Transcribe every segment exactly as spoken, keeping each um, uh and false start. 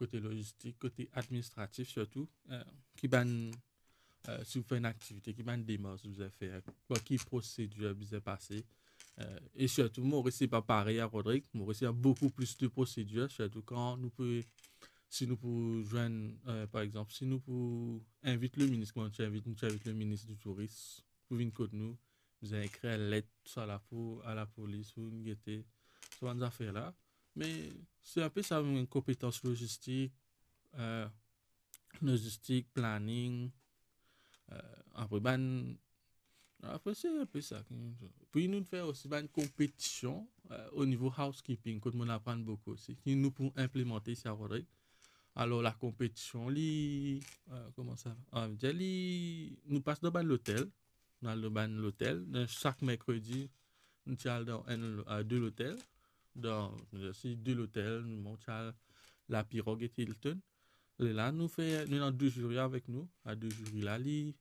kote logistik, kote administratif sirtou, eh, ki bann, eh, si ou fer enn aktivite, ki bann demars ou bizin fer, par ki prosedir bizin pase, eh, e sirtou Moris se pa parey a Rodrig, Moris ena boukou plis de prosedir, sirtou kan nou pou, si nou pou zwenn, eh, par exanp, si nou pou invit leminis, kouma nou ti invit, nou ti invit leminis di touris, pou vinn kot nou, bizin ekrir enn let, sa lapo-, a lapolis, pou vinn gete, sa bann zafer la. Me se inpe sa, enn konpetans logistik, eh, logistik, planning, eh, apre bann, apre se inpe sa. Pi nou fer osi bann konpetision, eh, o nivo housekeeping, kot monn aprann boukou osi, ki nou pou inplimante isi a Rodrig. Alor, la konpetision, li, eh, kouma sa, ah, dir li, nou pas dan bann lotel, nou al dan bann lotel, dan sak merkredi, nou ti al dan enn, eh, de lotel, dan, si de lotel, nou ti al La Pirogue ek Hilton. Lerla nou fer, nou ena de ziri avek nou, a de ziri la, li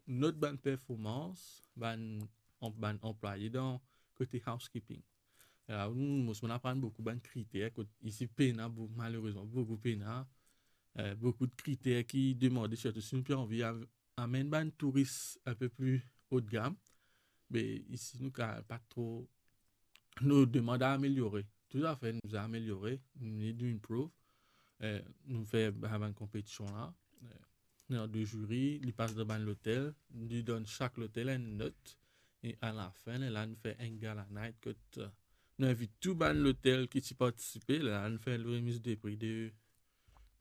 not bann performans, bann, an-, bann anplwaye dan kote housekeeping. Lerla nou, mo, monn aprann boukou bann kriter, kot isi pena, bou-, malerezman, boukou pena, eh, boukou de kriter ki demande, sirtou si nou pe anvi av-, amenn bann touris inpe pli haut de gamme, be isi nou ka pa tro, nou demann a ameliore. Toutafe, nou bizin ameliore, nou need to improve. Eh, nou fer ba-, bann konpetision la. Eh, nou ena de ziri, li pas dan bann lotel, li donn sak lotel enn not, e alafin, lerla nou fer enn gala night kot, eh, nou invit tou bann lotel ki ti partisipe, lerla nou fer remiz de pri de,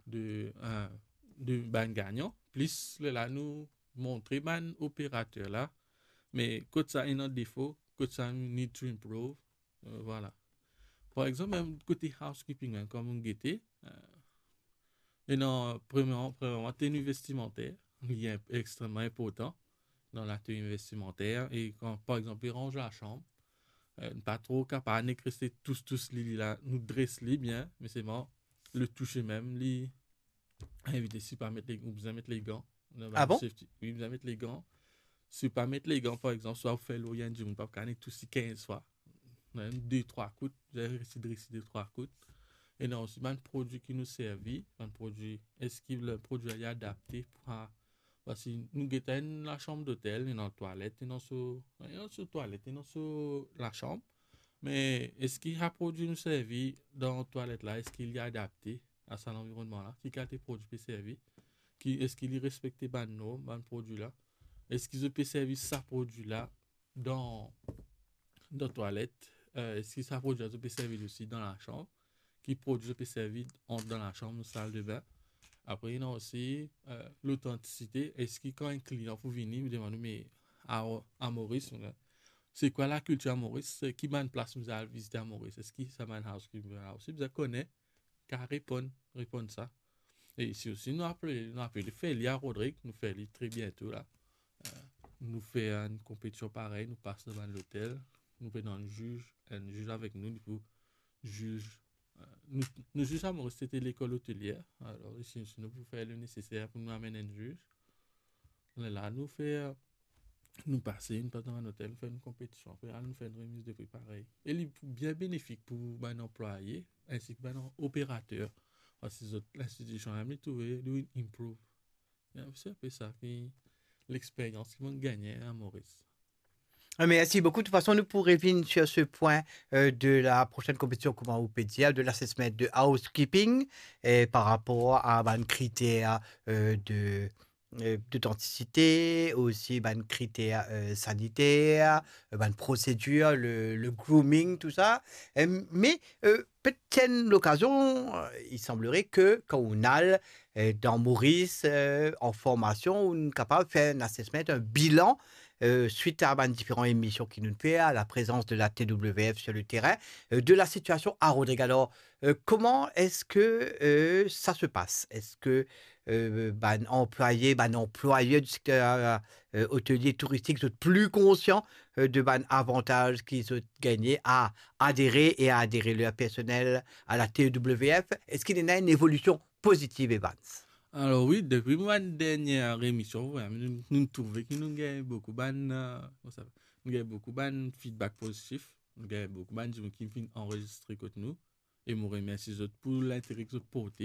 de, eh, de bann gagnan, plis lerla nou montre bann operater la, me kot sa ena defo, kot sa need to improve, eh, vwala. Par exanp, mem kote housekeeping, hein, kan nou gete, eh, ena, premierman, premierman, teni vestimanter, li inp-, extreman inportan dan la teni vestimanter, e kan, par exanp, li ranz lasanm, eh, pa tro kapav nek reste tous, tous li, li la, nou dres li bien, me selman, le touse mem, li invite, si pa met le, ou bizin met legan. Ah bon? Safety. Wi, bizin met legan. Si pa met legan, par exanp, swa ou fer lor enn dimoun, pa kapav nek tous li kinz fwa. Mem de, trwa kout, bizin resi dresi de, trwa kout. Ena osi bann prodwi ki nou servi, bann prodwi, eski le prodwi la li adapte pou a-, parski nou get enn lasanm dotel, ena twalet, ena so, ena so twalet, ena so lasanm. Me eski sa prodwi nou servi dan twalet la, eski li adapte a sa lanvironnman la, ki kalite prodwi pe servi, ki, eski li respekte bann norm, bann prodwi la, eski zot pe servi sa prodwi la dan, dan twalet, eh, eski sa prodwi la zot pe servi li osi dan lasanm, ki prodwi zot pe servi an, dan lasanm, sal de bin. Apre, ena osi, eh, lotantisite, eski kan enn klian pou vini, li demann ou, me a, a Moris, eh, se kwa lakiltir a Moris, se ki bann plas nou al vizite a Moris, eski sa bann housekeeping la osi bizin kone, ka reponn, reponn sa. E isi osi, nou apel, nou apel fer li a Rodrig, nou fer li tre biento la. Eh, nou fer enn konpetision parey, nou pas dan bann lotel, nou pe ena enn ziz, enn ziz avek nou, li pou ziz, eh, nou, nou ziz a Moris, se te lekol otelier. Alor, isi, isi nou pou fer le neseser pou nou amenn enn ziz. Lerla nou fer, nou pase, nou pas dan bann lotel, nou fer enn konpetision, apre, al, nou fer enn remiz de pri parey. E li bien benefik pou bann anplwaye, ensi ki bann operater. Parski zot, linstitision la, li trouve, li improve. Se inpe sa ki lexperyans ki monn gagne a Moris. Ah, merci beaucoup. De toute façon, nous pourrons revenir sur ce point, euh, de la prochaine compétition, comment on peut dire, de l'assessment de housekeeping, et par rapport à, ben, critères, euh, de, euh, d'authenticité, aussi, ben, critères, euh, sanitaires, euh, ben, procédure, le, le grooming, tout ça. Euh, mais, euh, peut-être qu'il y a une occasion, euh, il semblerait que quand on a, euh, dans Maurice, euh, en formation, on est capable de faire un assessment, un bilan, euh, suite à, ben, différentes émissions qui nous fait, à la présence de la T W F sur le terrain, euh, de la situation à Rodrigues. Alors, euh, comment est-ce que, euh, ça se passe? Est-ce que, euh, ben, anplwaye, ben, anplwayer du secteur, euh, hôtelier touristique, sont plus conscients, euh, de, ben, avantage qu'ils ont gagné à adhérer et à adhérer leur personnel à la T W F? Est-ce qu'il y a une évolution positive, Evans? Alor wi, depi bann dernie emision, wi, nou, nou trouve ki nou gagn boukou bann, euh, kouma sa, nou gagn boukou bann feedback pozitif, nou gagn boukou bann dimoun ki vinn anrezistre kot nou, e mo remersi zot pou lintere ki zot porte.